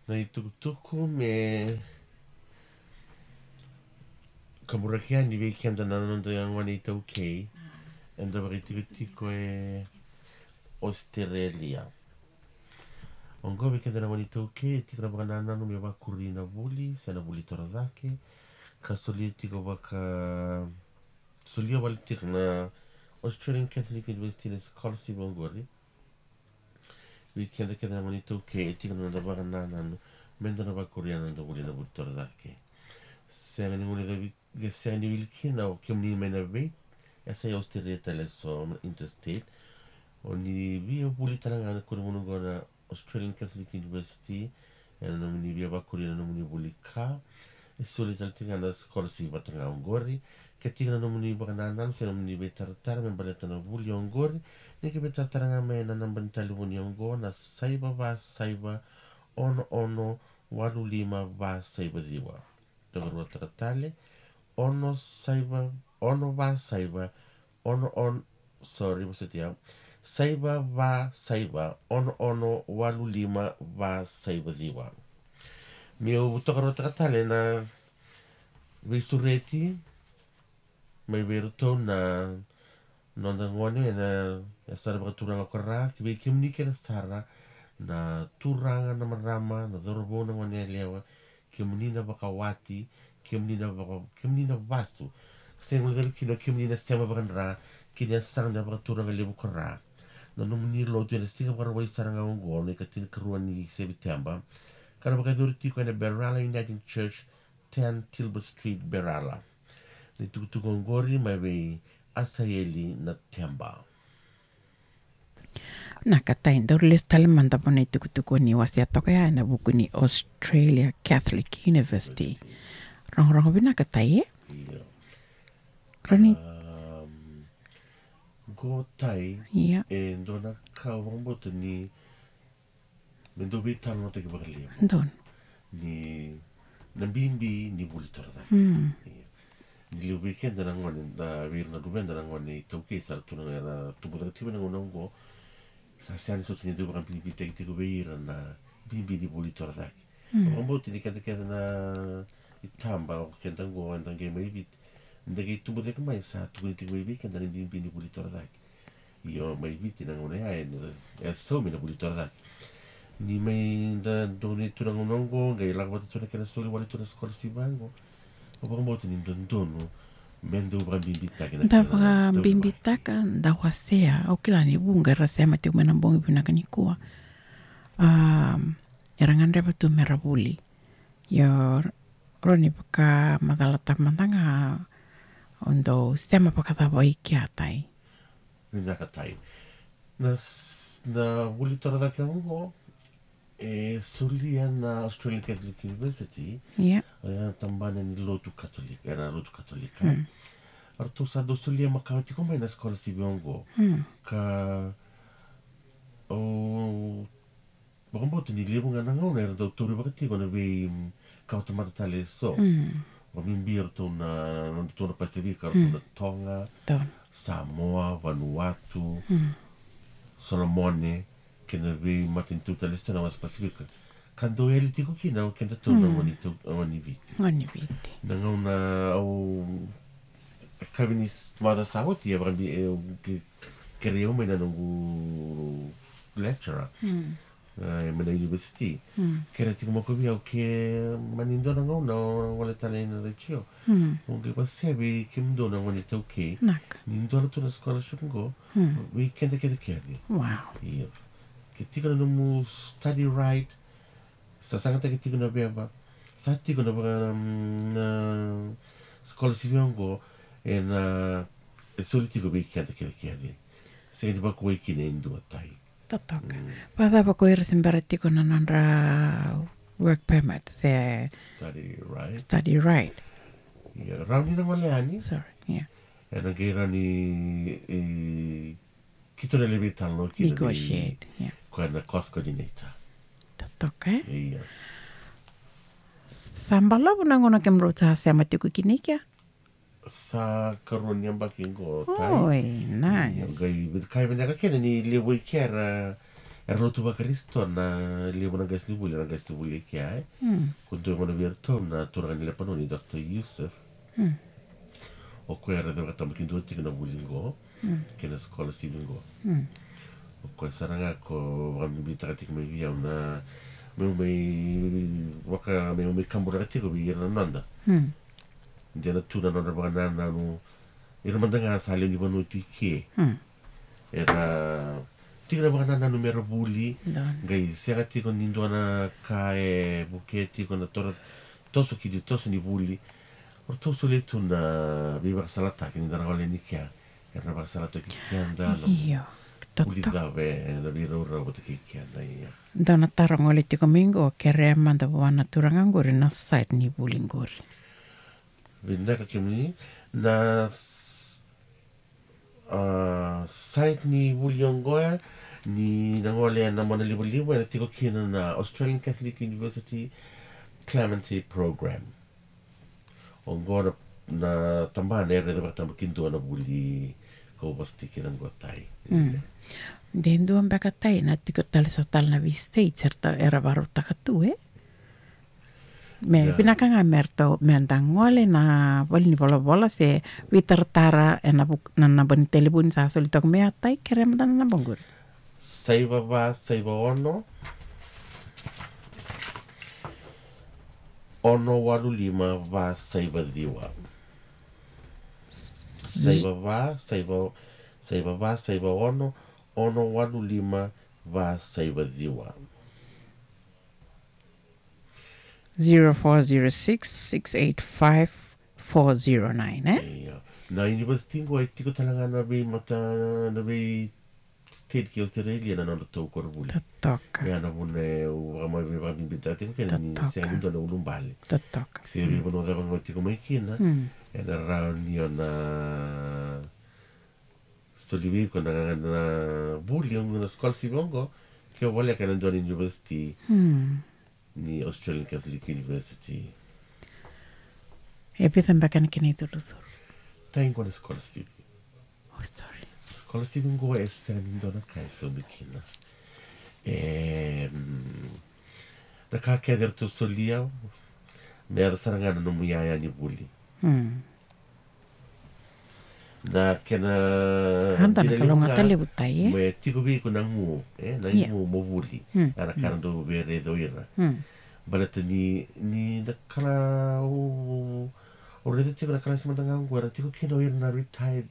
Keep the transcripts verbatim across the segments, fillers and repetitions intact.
Na itukutuku me kaburaki yani vei keda na noda gone iTaukei eda vakaitikotiko e Australia. Oqo vei keda na gone iTaukei e tiko na vakanananu me vakuri na vuli se na vuli torocake, ka solia tiko vaka solia vale tiko na Australian Catholic University na scholarship oqori. Vei keda kece na gone iTaukei e tiko na noda vakanananu me da na vakuria na noda vuli na vuli torocake. Sega ni guilecavi, sega ni wili kina o kemuni mai na vei, e sa i Australia tale eso na interstate. O ni via vuli tale ga na konimunugona Australian Catholic University, ena nomuni via vakuria na nomuni vuli ka e soli tale tiko ga na scholarship vata ga oqori. Ke tiko na nomuni vakanananu se nomuni veitaratara me baleta na vuli oqori, ni ke veitaratara ga mai na naba ni talevoni oqo na saiva va saiva ono ono walu lima va saiva ciwa. Tokaruataka tale, ono saiva, ono va saiva, ono ono, sorry, vosoti au, saiva va saiva ono ono walu lima va saiva ciwa. Meu tokaruataka tale na veisureti mai vei iratou na noda gone ena yasana vakaturaga ko Ra, ki vei kemuni kece sara na turaga, na marama, na cauravou, na gone yalewa, kemuni na vakawati, kemuni na vaka, kemuni na vasu. Sega ni guilecavi kina o kemuni na sema vakadra ki na yasana vakaturaga levu ko Ra. Na nomuni lotu ena siga Vakarauwai sara ga oqo, na ikatinikarua ni Seviteba, ka na vakayacori tiko ena Berala Uniting Church, ten Tilbury Street, Berala. Na itukutuku oqori mai vei Asaeli Nateba. Vinaka Tai, daru lesu tale mada vua na itukutuku ni wasea toka ya ena vuku ni Australia Catholic University. Rogorogo vinaka Tai, e? Io. Roni. Um, qo Tai, ia, e dua na ka au vakabauta ni me dau veitalanoataki vakalevu. Donu. Ni na bibi ni vuli torocake. Mm. Ia. Ni levu vei keda na gone, da vei ira na luveda na gone iTaukei sa ra tu na, era tubu cake tiko na gauna oqo. Sa sega ni soti ni dau vakabibitaki tiko vei ira na bibi ni vuli torocake. Mm. Au vakabauta ni keda kece na itaba o keda oqo eda qai mai Viti, da qai tubu cake mai sa tukuni tiko mai vei keda na bibi ni vuli torocake. Io, mai Viti na gauna ya e, e saumi na vuli torocake. Ni mai da donu tu na gauna oqo, qai lako vata tu na kena soli wale tu na scholarship vaqo. Au vakabauta ni dodonu me dau vakabibitaki na, da kena vakabibitaka, da wasea. Au kila ni vuqa era sema tiko mai na bogi vinaka nikua. Um, era gadreva tu mera vuli. Io, roni vakamacalataka mada ga o dau sema vakacava i kea Tai. Vinaka Tai. Na s-, na vuli torocake oqo e solia na Australian Catholic University. Ia. E na tabana ni lotu Katolika, e na lotu Katolika. Mm. Eratou sa dau solia makawa tiko mai na scholarship oqo. Mm. Ka, o, vakabauta ni levu ga na gauna era dau tauri vaka tiko na vei, mm, kawatamata tale eso. Mm. Vakabibi eratou na, nodratou na Pasifika, eratou na Toga, Samoa, Vanuatu, Solomone, kei na vei matanitu tale eso na wasa Pasifika. Ka dau yali tiko kina o kedatou na gone tau, gone Viti. Gone Viti. Na gauna au, e kavi ni s-, macawa sa oti, e vakabi-, e, ke-, kerei au mai na noqu lecturer. Mm. E, mai na university. Mm. Kerea tiko mai ko vei au ke mani dua na gauna o gole tale ina retio. Mm. O qai wasea vei kemudou na gone iTaukei. Vinaka. Ni dua na tu na scholarship qo. Mm. Vei keda kece kece. Wow. Io. Ke tiko na nomu study right, sa sagataki tiko na veva, sa tiko na vaka, mm, na scholarship oqo, e na, e soli tiko vei keda kece kece. Sega ni vakuwai kina e dua Tai. Totoka. Mm. Vakacava ko ira se bera tiko na nodra work permit se study right. Study right. Ia, rawa ni na gole yani. Sorry, ia. E na qai rawa ni, e, keitou na lai veitalanoa kina. Negotiate, ia. Koya na course coordinator. Totoka, e? Ia. Sa balavu na gauna kemudrau sa sema tiko kina i kea? Sa karua ni yabaki qo Tai. Oi, nice. Ia, qai, qai vinaka kina ni levu i kea era, Era lotu vaKarisito na levu na qasenivuli, era qasenivuli e kea, e. Ko dua gona vei iratou na turaga ni Lepanoni, Doctor Yusuf. O koya era vakataba kidua tiko na vuli qo, kei na scholarship qo. O koya sara ga ko vakabibitaka tiko mai vei au na meu mai vaka, meu mai kaburaka tiko vei ira na noda. De na tu na nodra vakanananu, ira mada ga sa lewe ni vanua tu i ke. Era tiko na vakanananu mera vuli, qai sega tiko ni dua na ka e vukea tiko na tora, toso ki, toso ni vuli. O ratou solia tu na veivakasalataki ni da na gole ni kea. Era na vakasalataki keda na vuli cava ena veiraurau vata kei keda, ia. Dau na taro gole tiko mai qo, kerea mada vua na turaga qori na site ni vuli qori. Vinaka kemuni, na s-, a, site ni vuli oqo, ni na gole ena monalivaliva, ena tiko kina na Australian Catholic University Clementi Program. Oqo na, na tabana era raica vakataba kidua na vuli kau vosa tiko kina qo, Tai. De dua beka, Tai, na tiko tale so tale na vei states era ta-, era varautaka tu, e? Me vinaka ga me ratou, me da gole na vale ni volavola se veitaratara ena vuk-, na naba ni telefoni sa soli toka mai, a Tai, kerea mada na naba qori. Saiva va saiva ono, ono walu lima va saiva ciwa. Saiva va saiva, saiva va saiva ono, ono walu lima va saiva ciwa. Zero four zero six, six eight five, four zero nine, e? Ia. Na university qo e tiko tale ga na veimata, na vei state ki Australia na nodratou koronivuli. Totoka. Ia na vuna e, au vakama-, vakabibitaka tiko kina ni sega ni dua na ulubale. Totoka. Se veivanua cava ga o tiko mai kina, ena rawa ni o na soli vei iko na, na vuli oqo, na scholarship oqo, ke o voleka ena dua na university ni Australian Catholic University. E vica beka na kena icurucuru? Tai, qo na scholarship. Oh, sorry. Scholarship qo e sega ni dua na ka e saumi kina. E, mm, na ka kece eratou solia, me yaco sara ga na nomu iyaya ni vuli. Na kena dina levu ga, me tiko vei iko na gu, e, na igu mo vuli. Ia na ka era dau veiraici ira. Baleta ni, ni na kala, au, au raica tiko na kalasi mada ga qo, era tiko kina o ira na retired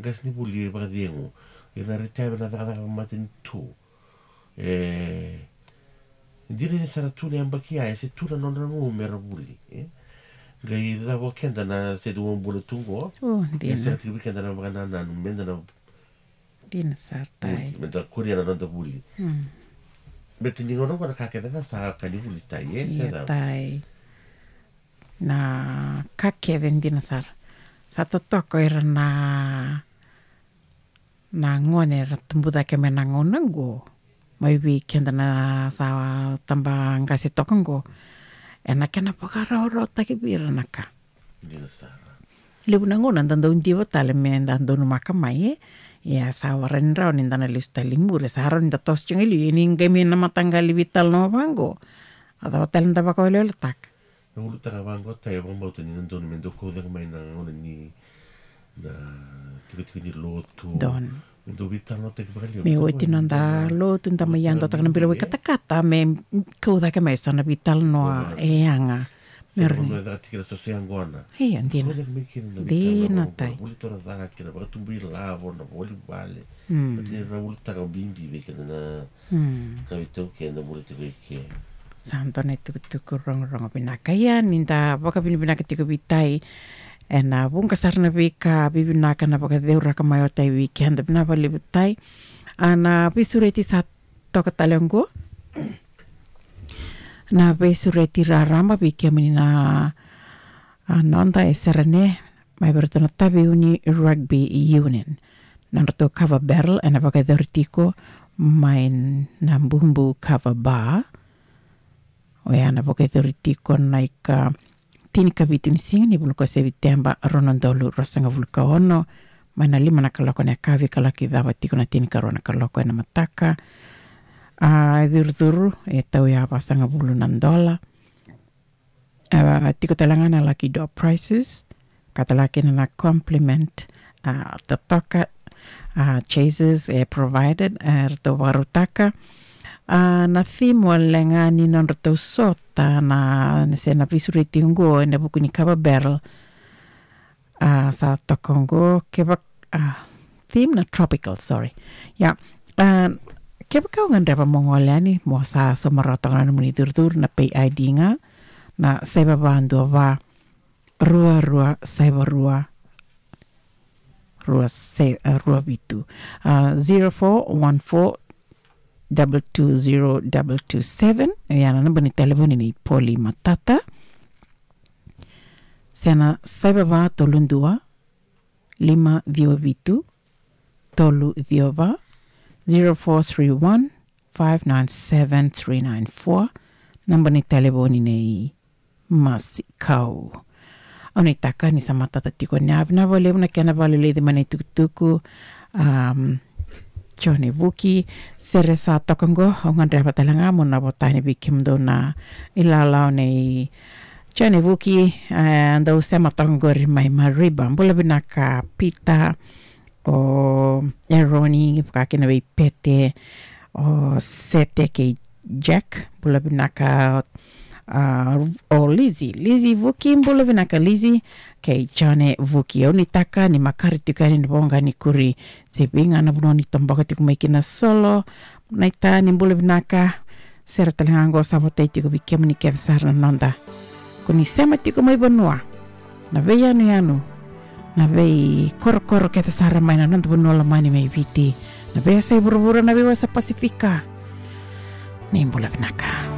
qasenivuli vakacegu, ira na retired na cakacaka vakamatanitu. E, dina ni sa ra tu na yabaki ya, e se tu na nodra gu me ra vuli, e. Qai cava o keda na sede uabuna tu qo, e sega tiko vei keda na vakanananu me da na, dina sara, Tai, me da kuria na noda vuli. Baleta ni gauna qo na ka kece ga sa ka ni vuli, Tai, e, se cava? Na ka kece, dina sara. Sa totoka o ira na na gone era tabu cake mai na gauna qo, mai vei keda na sa tabaqase toka qo, ena kena vakarawarawataki vei ira na ka. Dina sara. Levu na gauna da dau diva tale me da donumaka mai, e. Ia sa warai ni rawa ni da na lesu tale i muri, sa rawa ni da toso tiko ga i liu, ia ni qai mai na mataqali veitalanoa vaqo, a cava tale da vakaweleweletaka? Na ulutaga vaqo, Tai, au vakabauta ni na donu me dau kau cake mai na gauna ni na tikotiko ni lotu. Donu. Me dau veitalanoataki vakalevu. Me oti noda lotu, da mai yadotaka na bilo vakatakata, me kau cake mai so na veitalanoa e yaga. Me ra vanua e caka tiko na soso yaqona. Ia, dina. Kau cake mai kina na veitalanoa. Dina, Tai. Vuli torocake, na vakatubu ilavo, na voli vale. Baleta ni ra ulutaga bibi vei keda na ka vei taukei eda vuli tiko i ke. Sa dua na itukutuku rogorogo vinaka. Ia ni da vakavinavinaka tiko vei Tai ena vuqa sara na veika vivinaka na vakaceuraka mai o Tai vei keda, vinaka vakalevu, Tai. A, na veisureti sa toka tale oqo. Na veisureti raraba vei kemuni na, a, noda e Serene, mai vei iratou na Taveuni Rugby Union. Na nodratou kava barrel ena vakayacori tiko mai na Bubu Kava Bar. Oya na vakayacori tiko na ika tinikavitu ni siga ni vula ko Seviteba, rua na udolu ruasagavulu ka ono, mai na lima na kaloko ena yakavi ka laki cava tiko na tinikarua na kaloko ena mataka. A, curucuru e tau ya vasagavulu na dola. A, tiko tale ga na lucky door prizes, ka tale ga kina na compliment, a, totoka, a, chasers e provided, e ratou vakarautaka. A, na theme wale ga ni nodratou sota na, se na veisureti oqo ena vuku ni kava barrel. A, sa toka oqo, kevaka, a, theme na tropical, sorry. Ia, a, kevaka o gadreva mo gole yani, mo sa sauma rawa toka na nomuni curucuru, na pay I D ga, na saiva va dua va, rua rua saiva rua, rua se-, a, rua vitu. A, zero four one four double two zero double two seven. Ia na naba ni talevoni nei Poli Matata. Se na saiva va tolu dua, lima ciwa vitu, tolu ciwa va, zero four three one, five nine seven three nine four. Naba ni talevoni nei Masikau. Au nuitaka ni sa matata tiko ni a vinaka vakalevu na kena vakaleleci mai na itukutuku. Am, Jone Vuki, sere sa toka oqo, au gadreva tale ga mo na vota yani vei kemudou na ilala nei Jone Vuki, e, dau sema toka oqori mai Mareeba. Bula vinaka Pita, o Eroni, vaka kina vei Pete, o Sete kei Jack, bula vinaka, a, o Lizzy, Lizzy Vuki, bula vinaka Lizzy, kei Jone Vuki. Au nuitaka ni makare tiko yani na voqa ni kuri, se vei ga na vanua ni toboka tiko mai kina solo, na ita ni bula vinaka, sere tale ga oqo sa votai tiko vei kemuni kece sara na noda. Ko ni sema tiko mai vanua, na veiyanuyanu, na veikorokoro kece sara mai na noda vanua lomani mai Viti, na veiyasai vuravura, na veiwasa Pasifika. Ni bula vinaka.